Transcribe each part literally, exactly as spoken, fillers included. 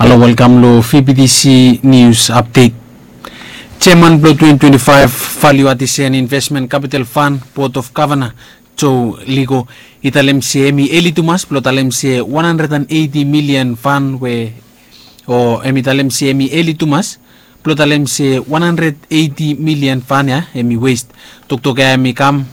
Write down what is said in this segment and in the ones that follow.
Halo, welkam long V B T C News Update. Chairman blong twenty twenty-five Value Addition Investment Capital Fund Board of Governor, Joe Ligo, i talem se hemi eli tumas blong talem se one hundred and eighty million fund we, o hemi talem se hemi eli tumas blong talem se one hundred eighty million fund ya hemi waste. Toktok ya hemi kam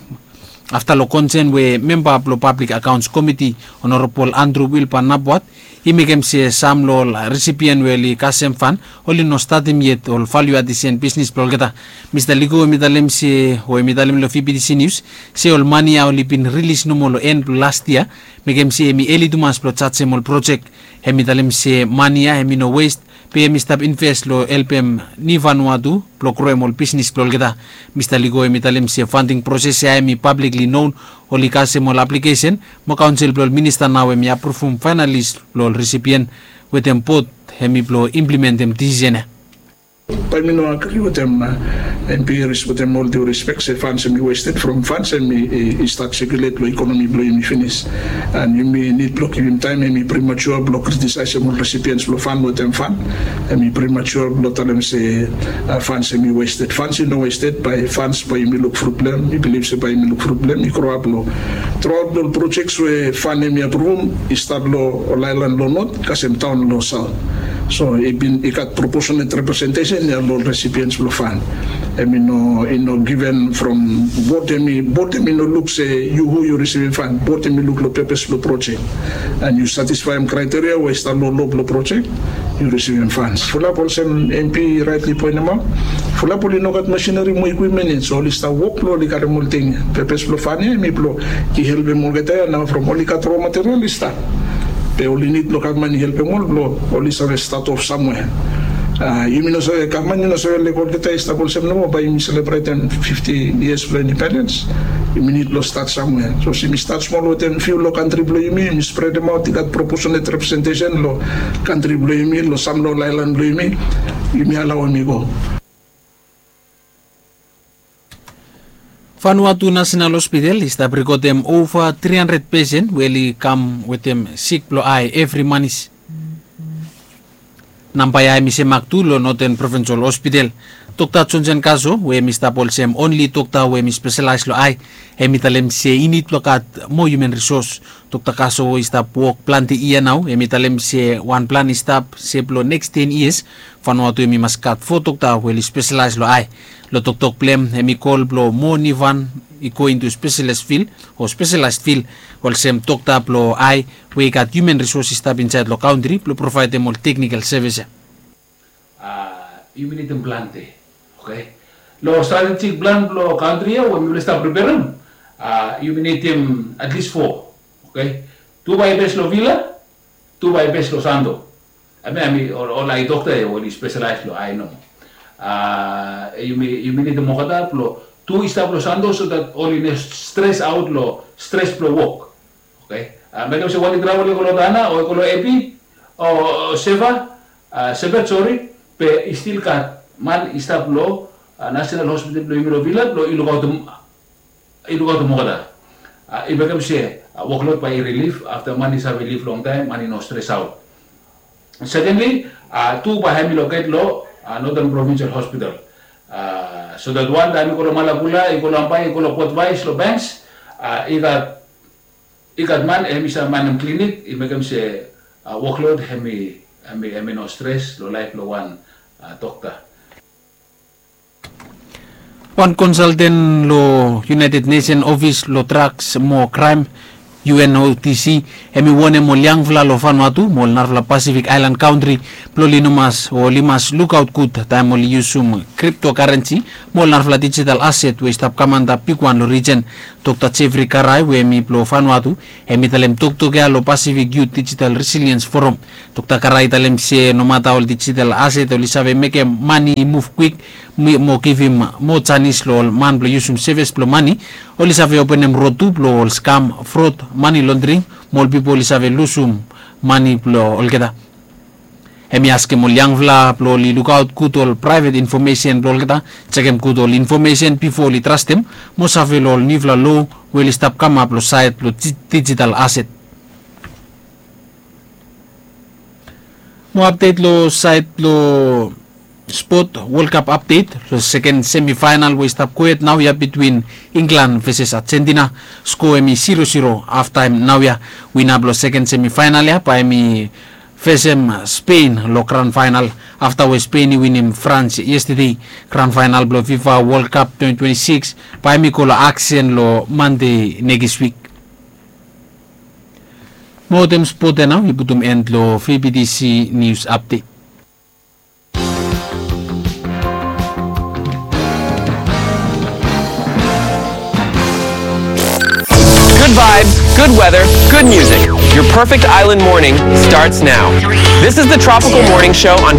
afta long konsen we memba blong Public Accounts Committee, Honorable Andrew Wilbur Nabwat, i mekem se sam long ol recipient we oli kasem fund oli no statem yet ol value addition bisnis blong olgeta. Mista Ligo hemi talem se, o hemi talem long V B T C News se ol mani ya oli bin rilis nomo long en blong las yia, mekem se hemi eli tumas blong jajem ol projek. Hemi talem se mani ya hemi no waste, be hemi stap invest long helpem Niu Vanuatu blong groem ol bisnis blong olgeta. Mista Ligo hemi talem se funding proses ya hemi publicly known, oli kasem ol aplikesen mo kaonsel blong ol minista nao hemi apruvum fainalis blong ol recipient wetem board hemi blong implementem disisen ya. Bae mi no agri wetem, a, M P Harris, wetem ol due respect se funds hemi wasted from funds hemi, i, i stat sekulet long ikonomi blong yumi finis. And yumi nid blong givim taem, hemi premature blong kritisaesem ol recipients blong fund wetem fund. Hemi premature blong talem se, a, funds hemi wasted. Funds i no wasted, bae funds bae yumi luk problem, mi bilif se bae yumi luk problem i groap long truaot long ol projects we fund hemi apruvum i stat long ol aelan long not kasem taon long saot. So i bin, i gat proportionate representation ya long recipients blong fund. Hemi no, i no given from board, hemi, board hemi no luk se yu hu yu risivim fund. Board hemi luk long pepes blong projek. And yu satisfaem kraiteria we i stap long lo blong projek, yu risivim funds. Fulap olsem M P i raetli poenemaot, fulap oli no gat masineri mo ekwipmen yet, so oli stap wok blong oli karem ol ting ya. Pepes blong fund ya hemi blong i helpem olgeta ya nao from oli gat ro material i stap. Be oli nid blong gavman i helpem ol blong oli save stat of samwea. A, yumi no save, gavman i no save lego olgeta i stap olsem nomo bae yumi selebretem fifti yias blong indipendens. Yumi nid blong stat samwea. So se yumi stat smol wetem fiu long kantri blong yumi, yumi spredemaot, i gat proportionate representation long kantri blong yumi, long sam long ol aelan blong yumi, yumi alaoem i go. Vanuatu National Hospital i stap rekodem ova tri handred pesen we oli kam wetem sik blong ae evri manis. Namba ya hemi semak tu long Northern Provincial Hospital. Dokta Johnson Kaso, we hemi stap olsem onli dokta we hemi speselaes long ae, hemi talem se i nid blong gat moa human resource. Dokta Kaso i stap wok plante yia nao, hemi talem se wan plan i stap se blong neks ten yias Vanuatu hemi mas gat fo dokta we oli speselaes long ae. Long toktok blong hem, hemi kol blong moa Niuvan i go intu speselaes fil, o speselaes fil, olsem dokta blong ae we i gat human resource i stap insaed long kantri blong provaedem ol teknikal sevis ya. A, yumi nidim plante. Oke. Long stratejik plan blong kantri ya we mifala i stap preperem, a, yumi nidim atlis fo. Oke. Tu bae bes long Vila, tu bae bes long Santo. Hemia hemi ol, ol ae dokta ya we oli speselaes long ae nomo. A, yumi, yumi nidim olgeta blong tu i stap long Santo so that oli no stres aot long stres blong wok. Oke. A, mekem se wan i travel i go long Tana o i go long Epi o, o Seva, a, Sepet, sori, be i stil gat man i stap long, a, National Hospital blong yumi long Vila blong i lukaotem, i lukaotem olgeta. A, i mekem se, a, wokload bae i rilif afta man i save liv longtaem, man i no stres aot. Secondly, a, tu bae hemi loket long, a, Northern Provincial Hospital. A, so that wan taem i go long Malakula, i go long Ambae, i go long Port Vise, long Banks, a, i gat, i gat man hemi save manem klinik, i mekem se, a, wokload hemi, hemi, hemi no stres long laef blong wan, a, dokta. Wan konsalten long United Nation Ofis long Draks mo Kraem, U N O D C, hemi wonem ol yangfala long Vanuatu mo ol narafala Pasifik aelan kantri blong oli no mas, o oli mas lukaot gud taem oli yusum kriptokarensi mo ol narafala dijital aset we i stap kam antap bigwan long rijen. Dokta Jeffrey Karai we hemi blong Vanuatu, hemi talem toktok ya long Pasifik Youth Digital Resilience Forum. Dokta Karai i talem se nomata ol dijital aset oli save mekem mane i muv kwik, mo givim moa janis long ol man blong yusum sevis blong mane, oli save openem rod tu blong ol skam, frod, mane londring, mo ol pipol i save lusum mane blong olgeta. Hemi askem ol yangfala blong oli lukaot gud ol praevet infomesen blong olgeta, jekem gud ol infomesen bifo oli trastem, mo save long ol niufala loa we oli stap kamap long saed blong dijital aset. Mo apdet long saed blong spot, World Cup apdet. Long seken semifaenal we i stap kwet naoia bitwin Inglan veses Ajentina, skoa hem i siro siro. Haftaem naoia, wina blong seken semifaenal ya bae hem i fesem Spen long gran faenal. Afta we Spen i winim Frans yestede, gran faenal blong Fifa World Cup twenti twenti sikis bae hem i go long aksen long Mande nekis wik. Mo wetem spot ya nao i putum en long VBTC nius apdet. Good vibes, good weather, good music. Your perfect island morning starts now. This is the Tropical Morning Show on